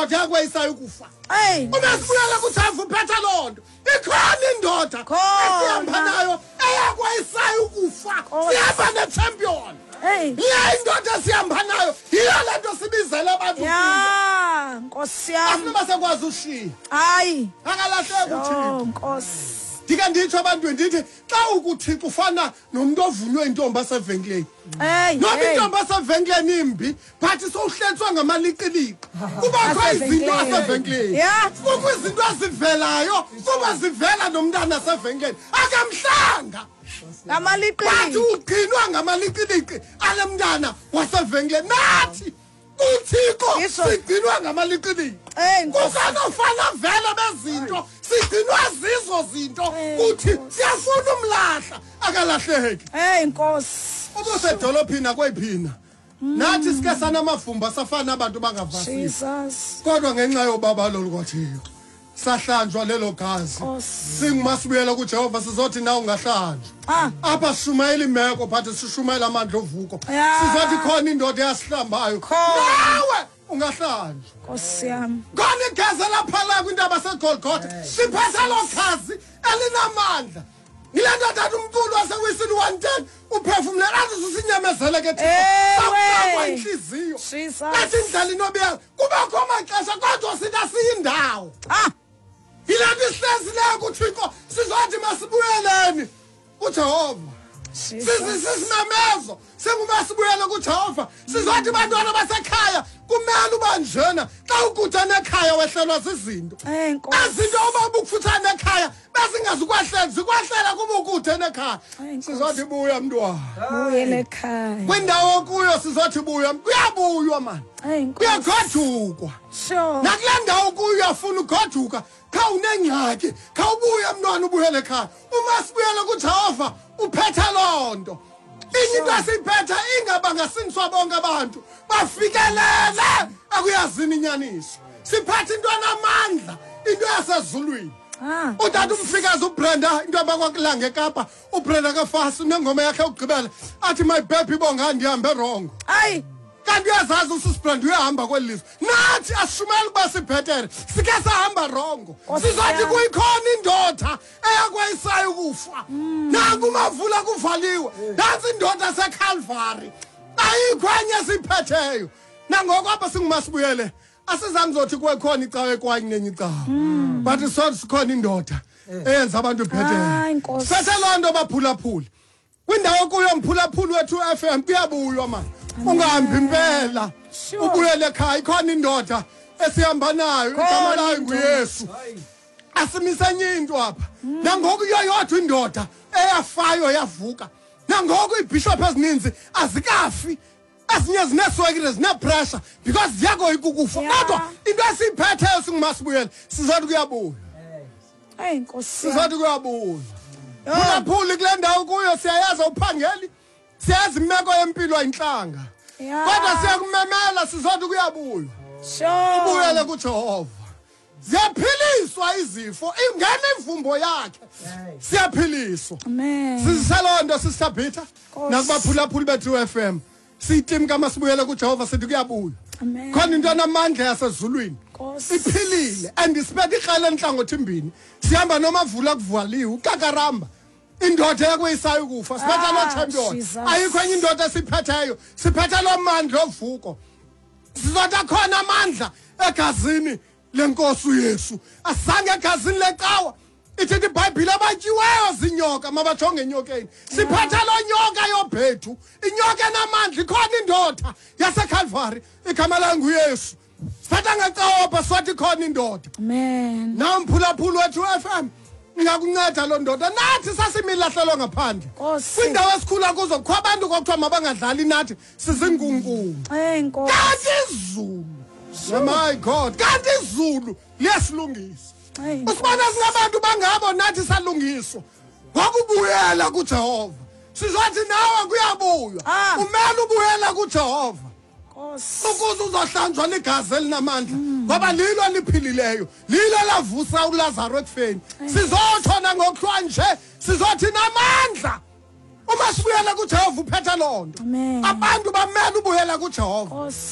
indoda yakweyisayo ukufa. Hey. Uma sibuyela kuJehova uphethe loo nto. Ikhona indoda esihamba nayo eyakweyisayo ukufa. Sihamba ne-champion. Hey. Yiyo indoda esihamba nayo. Yiyo le nto sibizele abantu. Ya, Nkosi yami. Asinoba sakwazi ushiya. Hayi. Akalahleki uThixo. Nkosi. Ndike nditsho ebantwini ndithi xa ukuThixo ufana nomntu ovunywe intombi asevenkileni. Hey. Noba intombi asevenkileni imbi, but sowuhletswa ngamaliqiliqi. Kubakho izinto asevenkileni. Yeah. Kukho izinto ezivelayo kuba zivela nomntana asevenkileni. Akamhlanga. Ngamaliqiliqi. But ugcinwa ngamaliqiliqi ale mntana wasevenkileni. Nathi kuThixo sigcinwa ngamaliqiliqi. Kusanofana vele bezinto sigcinwa zizo zinto kuthi siyafuna umlahla akalahleki. Hey Nkosi. Ubusedolophini akwephina. Nathi sike sanamavumba safana abantu bangavasiwe. Jesus. Kodwa ngenxa yobabalo lukaThixo sahlanjwa lelo gazi. Singumasibuyela kuJehova sizothi na ungahlanjwa. Apha sishumayela imeko but sishumayela amandla ovuko. Sizothi khona indoda eyasihlambayo. Nawe ungahlanjwa. Nkosi yami. Khona igazi laphala kwintaba seGolgotha. Siphethe lo gazi elinamandla. Yile ndoda athi umculo wasewisini 110 uphefumlela athi usinyamezele ke Thixo. Sakwa inhliziyo. Athi indlela inobuya kubakho amaxesha kodwa sithi asiyindawo. Yile nto isihlezi kuThixo sizothi masibuyeleni kuJehova. Sisimemezo singumasibuyele kuJehova. Sizothi bantwana basekhaya kumele uba njena xa ukude nekhaya wehlelwa zizinto. Ezinto uba ubukufutshane nekhaya bezingazukwahlela zikwahlela kuba ukude nekhaya. Sizothi buya mntwana. Buyele ekhaya. Kwindawo kuyo sizothi buya kuyabuywa mani. Kuyagodukwa. Sure. Nakule ndawo kuyo uyafuna ugoduka kha unengxaki khawubuye mntwana ubuyele ekhaya. Uma sibuyele kuJehova uphethe loo nto. Inye into esiyiphethe ingabangasindiswa bonke abantu bafikelele akuyazini inyaniso. Siphethe into enamandla, into yasezulwini. Utata umfikazi uBrenda into abakwakulanga eKapa, uBrenda kaFasi unengoma yakhe yokugqibela athi my baby bonga ndihambe wrong. Hayi. Kanti uyazazi uSisi Brenda uyahamba kweli lizwe. Nathi asishumeli ukuba sibhetere, sike sahamba rongo. Sizothi kuyikhona indoda eyakwayisayo ukufa. Nanku umavula kuvaliwe. Nantsi indoda seCalvary. Ayikho enye esiyiphetheyo. Nangoku apha singumasibuyele asizami zothi kukhona icawe ekwanye nenye icawe. But sothi sikhona indoda eyenza abantu bhetere. Siphethe loo nto baphulaphuli. Kwindawo kuyo mphulaphuli wethu FM kuyabuywa mani. Ungahambi impela. Ubuyele ekhaya ikhona indoda esihamba nayo igama layo nguYesu. Asimise enye into apha. Nangoku iyodwa indoda eyafayo yavuka. Nangoku iibhishophu ezininzi azikafi. Ezinye zineswekile zinepressure because ziyakoyika ukufa. Kodwa into esiyiphetheyo singumasibuyele sizothi kuyabuya. Hey Nkosi. Sizothi kuyabuya. Phulaphuli kule ndawo kuyo siyayazi awuphangeli. Siyazi imeko yempilo ayintlanga. Kodwa siyakumemela sizothi kuyabuya. Ubuyele kuJehova. Ziyaphiliswa izifo ingena imvumbo yakhe. Siyaphiliswa. Amen. Siseloo nto sisabhitha nakubaphulaphuli bethu FM. Siyitim kamasibuyele kuJehova sithi kuyabuya. Khona into enamandla yasezulwini. Iphilile and isiphethe ikrele enhlangothi mbini. Sihamba nomavula kuvaliwe ukakaramba. Indoda yakweyisayo ukufa siphethe lo champion. Ayikho enye indoda esiphetheyo. Siphethe lo mandla ovuko. Sizothi akhona amandla egazini lenkosi uYesu. Asange egazini lecawa. Ithi iBhayibhile abatyiweyo zinyoka mabajonge enyokeni. Siphethe lo nyoka yobhethu. Inyoka enamandla ikhona indoda yaseCalvary igama layo nguYesu. Siphethe ngecawa apha sothi ikhona indoda. Amen. Namphulaphuli wethu FM ingakunceda loo ndoda. Nathi sasimilahlelo ngaphandle. Kwindawo esikhula kuzo kukho abantu kwakuthiwa mabangadlali nathi sizingungumu. Kanti izulu. My God, kanti izulu liyasilungisa. Usibona singabantu bangabo nathi salungiswa. Ngokubuyela kuJehova. Sizothi nawe kuyabuywa. Umele ubuyela kuJehova. Ukuze uzohlanjwa ligazi elinamandla ngoba lilo liphilileyo lilo lavusa uLazaro ekufeni. Sizothona ngokuhlwa nje sizothi namandla. Uma sibuyela kuJehova uphethe loo nto. Abantu bamele ubuyela kuJehova.